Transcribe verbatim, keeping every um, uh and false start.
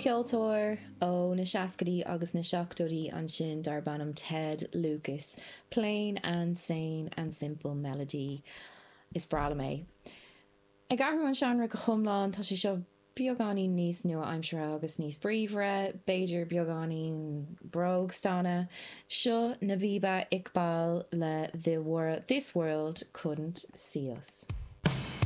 Popcheoltóir ó na seascaidí agus na seachtóidí ansin darb ainm Ted Lucas, Plain and Sane and Simple Melody. Is breá liom é. Ag athrú an seánra go hiomlán tá sé seo beagáinín níos nua-aimseartha agus níos bríomhaire, b'fhéidir beagáinín brógstaonadh, seo Nabihah Iqbal le The World, This World Couldn't See Us.